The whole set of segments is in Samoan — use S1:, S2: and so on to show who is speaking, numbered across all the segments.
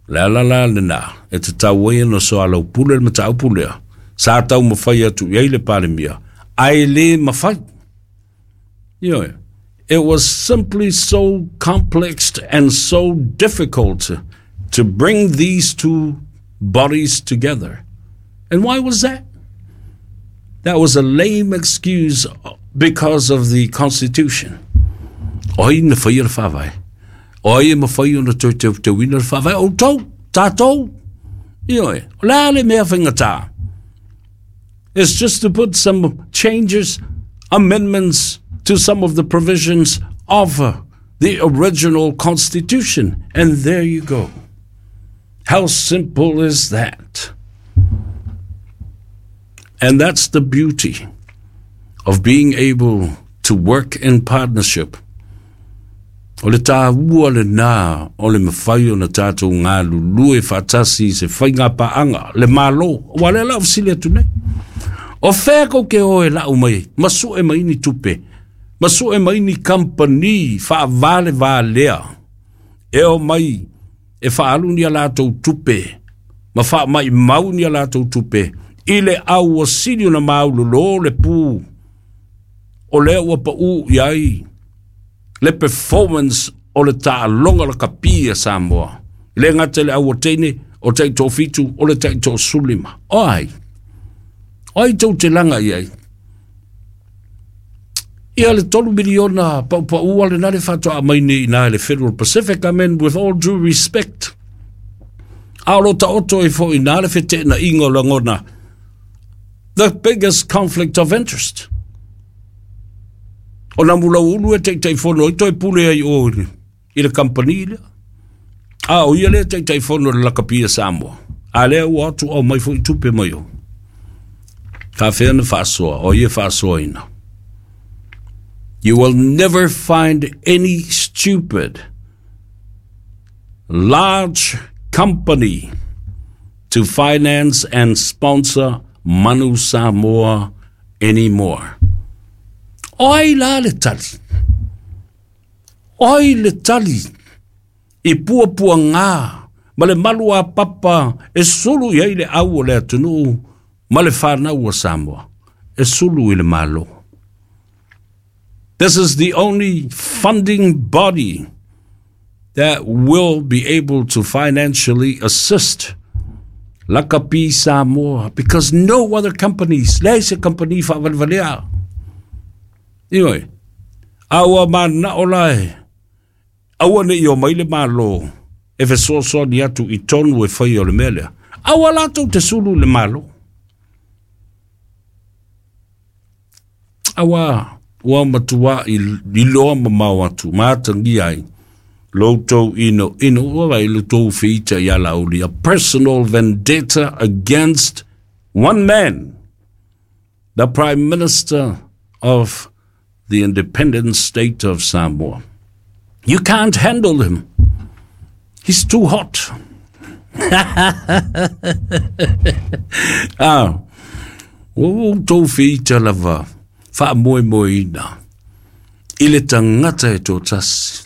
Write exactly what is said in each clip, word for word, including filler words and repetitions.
S1: Le ala la lena e tatau ai ona soalaupule le mataupu lea sa taumafai atu i ai le Palemia ae lē mafai. Ioe, it was simply so complex and so difficult to bring these two bodies together. And why was that? That was a lame excuse because of the Constitution. O ai na faia le faavae? O ai e mafai ona toe teuteuina le faavae? Outou, tatou. Ioe, o le a le mea faigata? It's just to put some changes, amendments to some of the provisions of the original Constitution. And there you go. How simple is that? And that's the beauty of being able to work in partnership. O le tāua lenā o le mafai ona tatou galulue faatasi i se faigapaaga le Malo. Ua lea la o fesili atu nei. O fea kou ke o e lau mai ma sue mai ni tupe, ma sue mai ni kampani faavalevalea e o mai e faaalu ni a latou tupe ma faamaimau ni a latou tupe i le au ua sili ona maulolo le pu o lea ua paū i ai le performance o le taaloga lakapi a Samoa. E le gata i le au teine o taitoafitu o le taitoasefululima. O ai? O ai tou te laga i ai? Ia le tolu miliona paupaua lena le faatoa mai nei i na le Federal Pacific. I mean, with all due respect. A o lo taoto ai foi na le feteenaiga o lagona. The biggest conflict of interest. O Namulauulu e Taitaifono ai toe pule ai o i le kampani lea. A o ia lea Taitaifono le lakapi a Samoa. A lea ua atu au mai foi tupe mai o. Faafea na faasoa, o ia faasoaina. You will never find any stupid large company to finance and sponsor Manu Samoa anymore. O ai la le tali? O ai le tali i puapuagā ma le malu a papa e sulu i ai le au o le atunuu ma le fanau a Samoa e sulu i le Malo? This is the only funding body that will be able to financially assist Lakapi Samoa because no other companies, leai se company faavalevalea. Ioe, a ua mananao la e aua nei o mai le Malo e fesoasoani atu i tonu e fai o le mea lea. Aua latou te sulu le Malo. Aua ua matua i iloa mamao atu ma atagia ai lo outou inoino ua vai lo tou feita ia Laauli, a personal vendetta against one man, the Prime Minister of the independent state of Samoa. You can't handle him. He's too hot. Ah, ua outou feita lava faamoemoeina i le tagata e toatasi.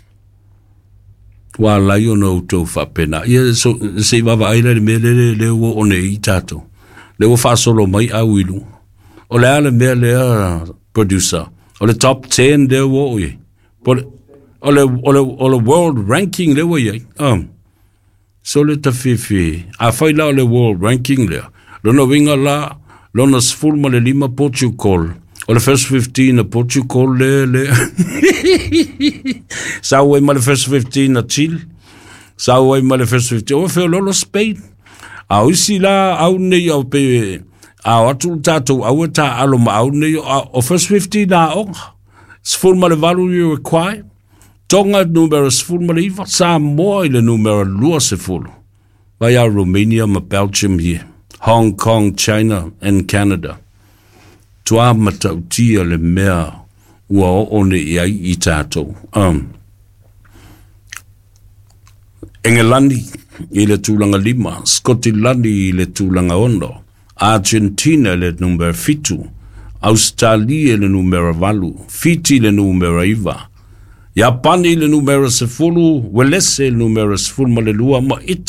S1: Ua ala ai ona outou faapena. Ia, so, se i vaavaai la i le mea lele lea ua oo nei i tatou. Lea ua faasolo mai au i luga. O le a le mea lea, producer? O le top ten lea ua oo i ai. Po le, o le, o le, o le world ranking lea ua i ai. Um, so le tafifi, afai la o le world ranking lea, lona uiga la, lona sefulu ma le lima Portugal, o le first fifteen a Portugal le, le, sau ai ma le first fifteen a Chile, sau ai ma le first fifteen, o feololo Spain. A o isi la au nei au pe, a o atu le tatou au e taaalo ma au nei, o first fifteen aoga, sefulu ma le valu Uruguay, Tonga numera sefulu ma le iva, Samoa i le numera luasefulu, vai a Romania ma Belgium here, Hong Kong, China and Canada. Tuā matautia le mea ua oo nei i ai i tatou. Um, Engelani i le tulaga lima, Skotilani i le tulaga ono, Argentina i le numera fitu, Australia i le numera valu, Fiti i le numera iva, Iapani i le numera sefulu, Uelese i le numera sefulu ma le lua, ma